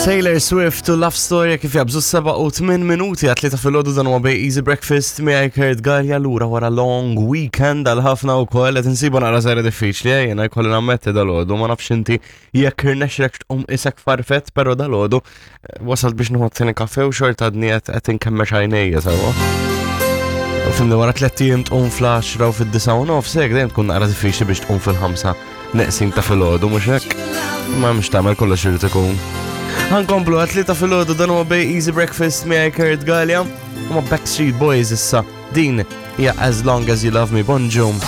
Taylor Swift u Love Story kif jabżu 7 u 8 minuti għat ta' filgħodu dan huwa bej Easy Breakfast miegħi Kurt Gallia lura wara long weekend għal ħafna wkoll qed insibu naqra żgħira diffiċli eh, jiena jkolli nammetti dal-għodu ma nafx inti jekk irnexxek tqum isek farfett però dal-għodu eh, wasalt biex nieħu t-tieni kafe u xorta għadni qed inkemmex għajnejja sewwa. Fimni wara tliet ijiem tqum fl-10 u fid-9 u nofs hekk dejjem tkun naqra diffiċli biex tqum fil-5 neqsin ta' filgħodu mhux hekk. Ma mhux tagħmel kollox irid ikun. Ħankomplu għat ta' filgħodu dan huwa bej Easy Breakfast miegħi Kurt Gallia u ma' Backstreet Boys issa. Din hija As Long As You Love Me Bonġum.